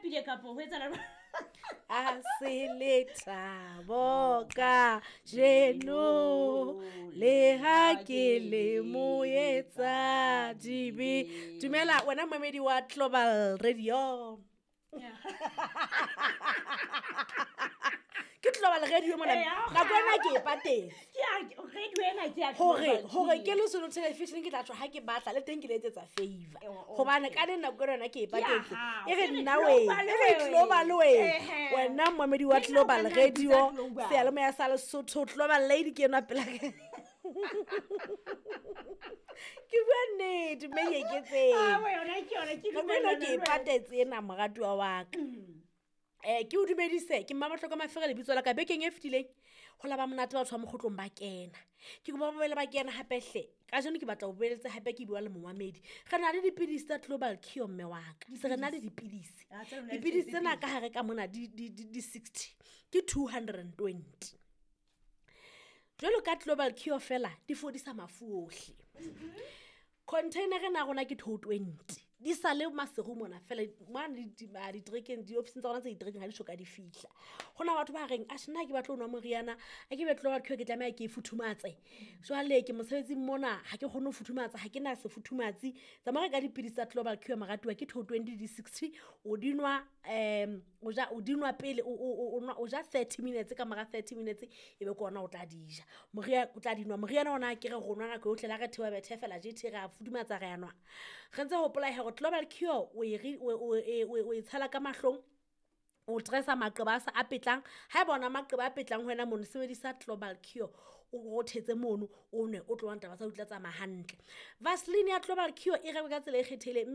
lapile kapo ho etsala A se lethabo ka jeno le ha ke le moetsa dibe. Dumela wena momedi wa Global Radio. Ke Global Radio mona. Nako ena ke e patetse. Hore hore ke le solo television ke tla tswa ha ke batla le teng ke le etsetsa favor. Hobane ka le nako yona ke e patetse. E re nna we, e re Global we. Wena momedi wa Global Radio, seyalemoya sa Lesotho, Global Lady ke enwa pela ka. Ke bua nnete mme ke eketseng. Nako ena ke e patetse ena moratuwa wa ka. Ke o dumedise, ke Mmabohlokwa Mafere lebitso la ka. Bekeng e fetileng ho la ba monate batho ba mokgotlong ba kena. Ke kopa ba boele ba kena hape hle. Kajeno ke batla ho boeletsa hape ke bua le momamedi. Re na le dipidisi tsa Global Cure mme wa ka. Se re na le dipidisi. Dipidisi tsena ka hare ka mona di 60 ke 220. Jwalo ka Global Cure fela di fodisa mafu ohle. Container ena rona ke 220. Di sale maseru mona fela mane ditrekeng, di-ofising tsa rona tse ditrekeng ha di soka di fihla. Ho na batho ba reng atjhe nna ha ke batle ho nwa moriana, ha ke batle Global Cure ke tlameha ke e futhumatse. Jwale ke mosebetsing mona ha ke kgone ho futhumatsa, ha ke na sefuthumatsi. Tsamaya ka dipidisi tsa Global Cure moratuwa ke 220 di 60 o di nwa o ja o di nwa pele o ja 30 minutes ka mora 30 minutes e be ke ona o tla di ja. Moria o tla di nwa moriana ona ke re rona nako yohle la re thewa bethe fela jethe re a futhumatsa re a nwa. Re ntse hopola hore Global Cure o e tshela ka mahlong, o dressa maqeba a sa a petlang. Ha eba ona maqeba a petlang ho wena mono, sebedisa Global Cure o rothetse mono, o nwe, o tlo bona taba tsa ho tla tsamaya hantle. Vaseline ya Global Cure e rekwe ka tsela e kgethehileng.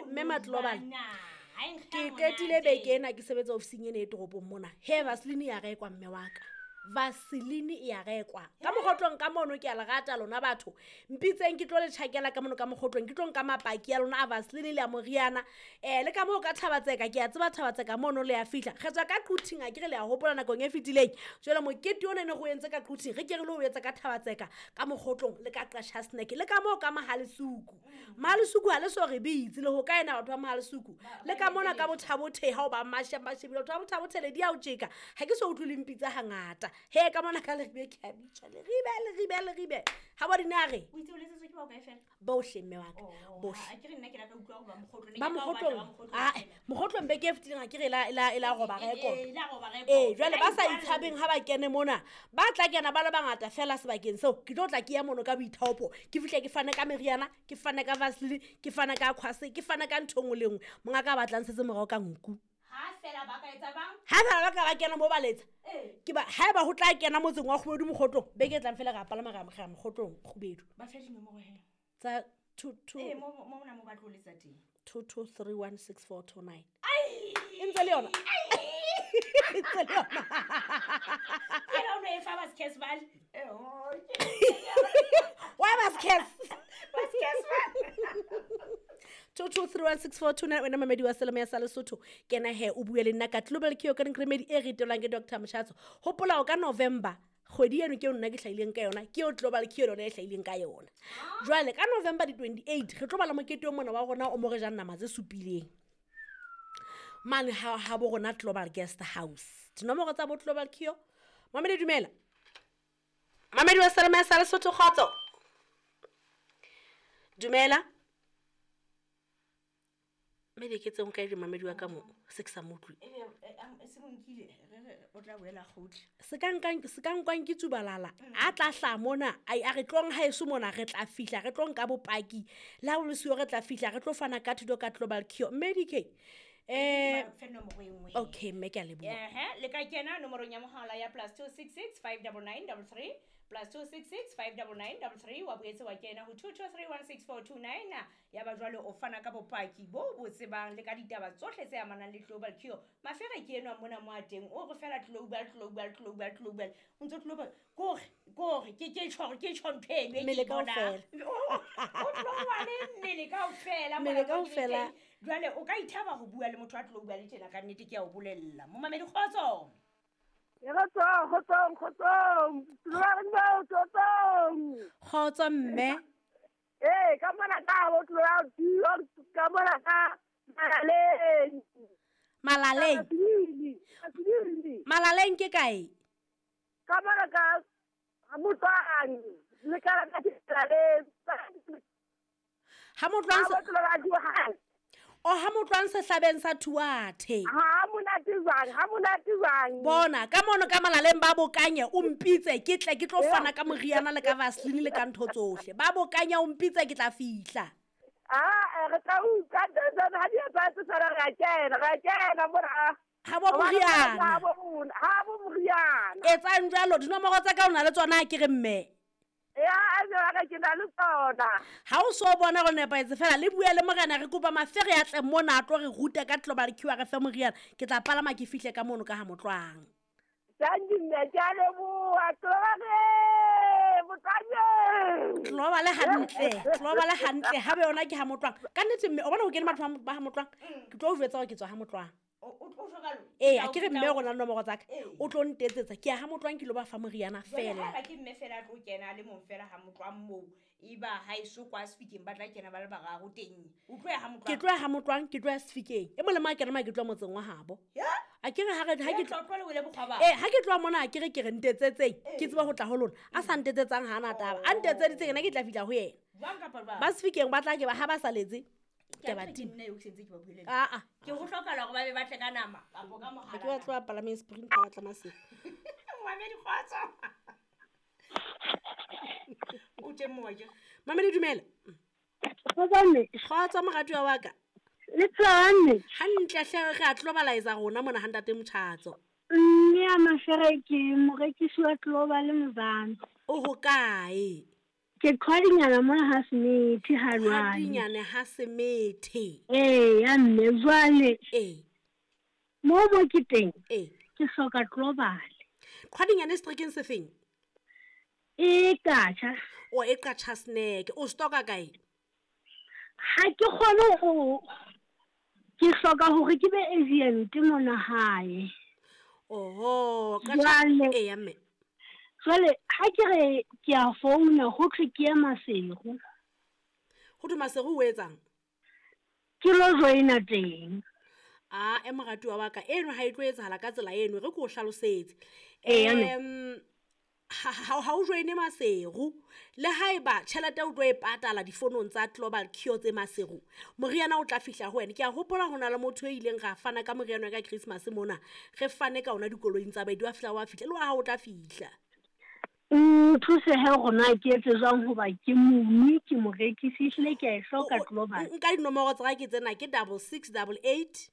Mme ma Global. Ke qetile beke ena ke sebetsa ofising ena e toropong mona. He Vaseline ya rekwa mme wa ka. Vaseline e ya rekwa. Ka mokgotlong ka mono ke a le rata lona batho. Mpitseng ke tlo le tjhakela ka mono ka mokgotlong, ke tlo nka mapaki a lona a Vaseline le a moriana. Le ka moo ka Thabatseka, ke a tseba Thabatseka mono le a fihla. Re tswa ka Quthing, a ke re le a hopola nakong e fetileng. Jwale mokete ona ne re o entse ka Quthing, re ke re le o etsa ka Thabatseka, ka mokgotlong le ka Qasha Snack, le ka moo ka Mahalesuku. Mahalesuku ha le so re bitse le ho kae na batho ba Mahalesuku. Le ka mona ka Bothabothe ha o ba masha mashebile batho ba Bothabothe le di a o tjeka. Ha ke so utlwe le mpitsa hangata. He ka mona ka Leribe ke a bitsa, Leribe, Leribe, Leribe. Ha ba di na re? O itse o letsetswe ke bao kae fela? Bohle mme wa ka. Oh, Bohle. ha ke re nna ke rata utlwa hore ba mokgotlong, ne Ba ke tla o batla mokgotlong. ba mokgotlong Ah, fela. mokgotlong beke e fetileng ha ke re e la roba record. E la roba record. Jwale ba sa Ba itshabeng ha ba kene mona, ba tla kena ba le bangata fela sebakeng seo. Ke tlo tla ke ya mono ka boithaopo. Ke fihle ke fane ka meriana, ke fane ka Vaseline, ke fane ka khwase, ke fane ka ntho e nngwe le nngwe. Mongaka a batlang setse morao ka nku. Ha fela ba ka etsa bang? Ha fela ba ka ba kena mo ba letsa. Ke ba haeba ho tla kena motseng wa Kgubedu mokgotlong, beke e tlang fela ra palama ra mokgotlong Kgubedu. Ba fe dinomoro he. Tsa two two Mo mona mo ba tlo letsa teng. 22316429. Ai! E ntse le yona. E ntse le yona. Ke la o no e fa ba Skes bale. Oh, Why ba Skes? Ba Skes bale. 22316429 wena mamedi wa Selemo ya sa Lesotho. Kena he o bue le nna ka Global Cure ka remedy e ritelwang ke Dr. Moshatso. Hopola o ka November kgwedi eno ke eo nna ke hlahileng ka yona, ke eo Global Cure yona e hlahileng ka yona. Jwale ka November di 28 re tlo bala mokete o mona wa rona o mo re jang nama tse supileng. Mane ha bo rona Global Guest House. Dinomoro tsa bo Global Cure. Mamedi dumela. Mamedi wa Selemo ya sa Lesotho kgotso. Dumela. Mme ke tse nka di mamedi wa ka mo se ke sa mo utlwe. Se mo nkile, re o tla boela kgutla. Se ka nkang, se ka nkwang ke tsubalala. A tla hlaha mona, ai, a re tlong haeso mona re tla fihla, re tlo nka bopaki. Le ha o le siyo re tla fihla, re tlo fana ka thuto ka Global Cure. Mme DK, Ba fe nomoro e nngwe. Okay, mme ke a leboha. Ehe, le ka kena nomorong ya mohala ya +266 599 33, +266 599 33, wa boetse wa kena ho 22316429. Ya ba jwale o fana ka bopaki bo bo tsebang le ka ditaba tsohle tse amanang le Global Cure. Mafere ke enwa mona mo a teng, o re fela global, global, global, global. O ntso global. Kore, kore, ke tjho, ke tjho ntho eno e ke Mmele e bonang. kaofela. O global mmele kaofela, Mmele mona mo ke le kaofela. teng. Jwale o ka ithaba ho bua le motho a global tjena ka nnete ke a o bolella. Momamedi kgotso. Kgotso, kgotso, kgotso. Kgotso. Kgotso mme. Ka mona ka bo Global Cure, ka mona ka Malaleng. Malaleng. Malaleng ke kae? Ka mona ka Motlwang. Le ka la Malaleng. Ha Motlwang o ha Motlwang sehlabeng sa Thuathe. Ha monate jwang, ha monate jwang. Bona, ka mono ka Malaleng ba bokanye o mpitse ke tle ke tlo fana ka moriana le ka vaseline le ka ntho tsohle. Ba bokanya o mpitse ke tla fihla. Ah, re tla utlwa ha di etsa tse tsara re kena mona. Ha bo moriana. Ha bo moriana. Etsang jwalo dinomoro tsa ka o na le tsona ke re mme. Ya, a ke na le tsona. Ha o so bona go nepahetse fela le bua le morena re kopa Mafere ya tle mona a tlo re ruta ka Global Cure re fe moriana. Ke tla palama ke fihle ka mono ka ha Motlwang. Thank you, mme, ke a leboha. Global hantle, global hantle. Ha be yona ke ha Motlwang. Ka nnete mme o bona ho kene batho ba ha Motlwang. Ke tlo o jwetsa hore ke tswa ha Motlwang. Ee, a ke re mme rona nomoro tsa ka. O tlo ntetsetsa ke ya ha Motlwang ke lo ba fa moriana fela. Jwale ke mme fela tlo kena le mong fela ha Motlwang moo. Eba ha eso kwa Sefikeng ba tla kena ba le bararo teng. O tlo ya ha Motlwang. Ke tlo ya ha Motlwang, ke tlo ya Sefikeng. E mong le mang a kena ke tlo motseng wa habo. A ke re ha re ha ke tlo le wele bokgwa ba. Eh, ha ke tlo mona ke re ke re ntetsetseng. Ke tseba ho tla ho lona. A sa ntetsetsang ha ana taba. A ntetseditse yena ke tla fihla ho yena. Jwang kapa jwang? Ba Sefikeng ba tla ke ba ha ba saletse. Ke ba teng nna eo ke sentse ke ba buile. Ah. Ke ho hlokahala hore ba be ba tle ka nama kapo ka mohala. Ke ba tlo palame sprint ba tla Maseru. Mamedi kgotso. O teng mo ke. Mamedi dumela. Kgotso mme. Kgotso moratuwa wa ka. Le tsane. Hantle hle re a globalize rona mona ha ntate Motjhatso. Mme ya Mafere ke morekisi wa Global Mzansi. O ho kae? Ke qhwadinyana mona ha Semethe ha jwale. Qhwadinyana ha Semethe. Ee, ya mme jwale. Ee. Mo mo ke teng. Ee. Ke hloka Global. Qhwadinyana setrekeng se feng? E Qacha. O e Qacha snack. O stoka kae? Ha ke kgone ho ke hloka hore ke be agent mona hae. Oho, Qacha. Ee ya mme. Jwale ha ke re ke a founa ho thwe ke ya Maseru. Ho thwe Maseru o etsang? Ke lo joina teng. Ah, e moratuwa wa ka eno ha e tlo etsahala ka tsela eno re ke o hlalosetse. Ha o joine Maseru le haeba tjhelete o tlo e patala difonong tsa Global Cure tse Maseru, moriana o tla fihla ho wena. Ke a hopola ho na le motho e ileng ra fana ka moriana ka Christmas mona, re fane ka ona dikoloing tsa baedi wa fihla wa fihla le wa ha o tla fihla. Nthuse he rona ke etse jwang hoba ke mongwe ke morekisi ehlile ke a e hloka Global. Nka dinomoro tsa ka ke tsena ke 6688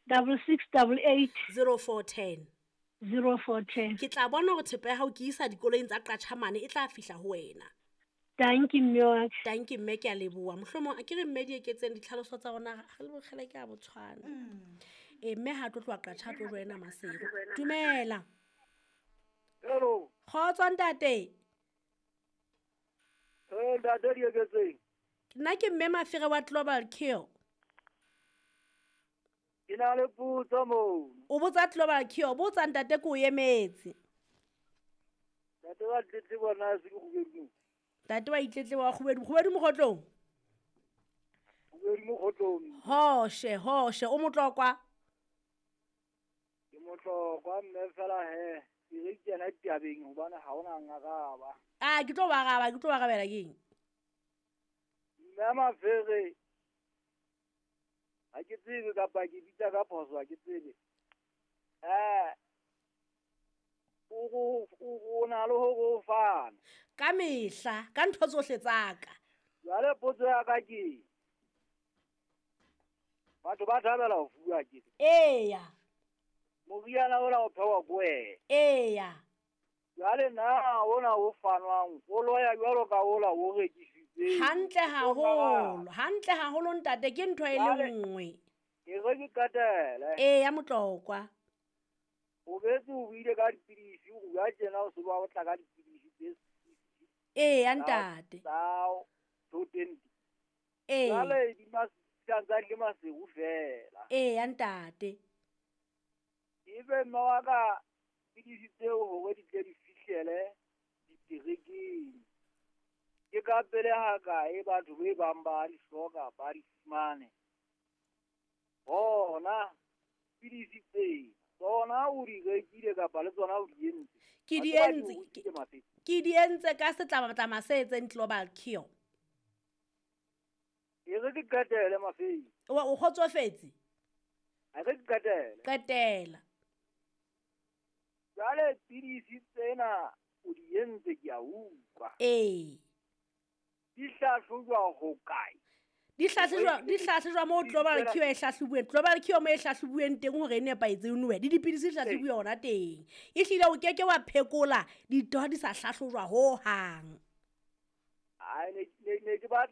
6688 0410 0410. Ke tla bona hore thepa ya hao ke isa dikoloing tsa Qatjhamane e tla fihla ho wena. Thank you mme wa ka. Thank you mme, ke a leboha. Mohlomong a ke re mme di eketseng ditlhaloso tsa rona re le bokgele ke a botshwana. Eh mme ha tlo tloha Qatjha tlo joina Maseru. Dumela. Hello. Kgotso ntate. Eh ntate di eketseng. Nna ke mme Mafere wa Global Cure. Ke na le potso moo. O botsa Global Cure, botsa ntate ke o emetse. Ntate wa tletlebo na se ke kgubedu. Ntate wa itletlebo wa kgubedu, kgubedu mokgotlong. Kgubedu mokgotlong. Hoshe, hoshe, o motlokwa. Ke motlokwa mme fela he. Ke re kena ditabeng hobane ha ona ngaraba. Ah, ke tlo ba araba, ke tlo ba arabela keng? Mme Mafere ha ke tsebe kapa ke bitsa ka phoso ha ke tsebe. O na le ho fana. Ka mehla, ka ntho tsohle tsa ka. Jwale potso ya ka ke batho ba thabela ho fuwa ke. Eya. Moriana ona o phehwa ko wena. Eya. Jwale na ona o fanwang o loya jwalo ka ola o rekisitseng. Hantle haholo, hantle haholo ntate ke ntho e le nngwe. Ke re ke qetele. Eya motlokwa. O betse o buile ka dipidisi, o bua tjena o se ba o tla ka dipidisi tse. Eya ntate. Tsa 220. Ee. Jwale di tsa di Maseru fela. Eya ntate. Ebe mme wa ka pidisi tseo hore di tle di fihlele diterekeng. Ke ka pele ha kae batho be bang ba di hloka ba di fumane. Hona pidisi tse tsona o di rekile kapa le tsona o di entse? Ke di Wa tseba entse, o utlwile Mafeteng. Ke di entse ka setlamatlama se etseng global cure. E re ke qetele Mafeteng. O kgotsofetse? A re ke qetele. Qetela. Jwale pidisi tsena o di entse ke a utlwa. Ee. Di hlahlojwa ho kae? Di hlahlojwa moo global cure e hlahlobuweng. Global cure mo e hlahlobuweng teng hore e nepahetse e nowe. Le dipidisi di hlahlobuwe hona teng. Ehlile o keke wa phekola dintho ha di sa hlahlojwa hohang. Ai, ne ke batla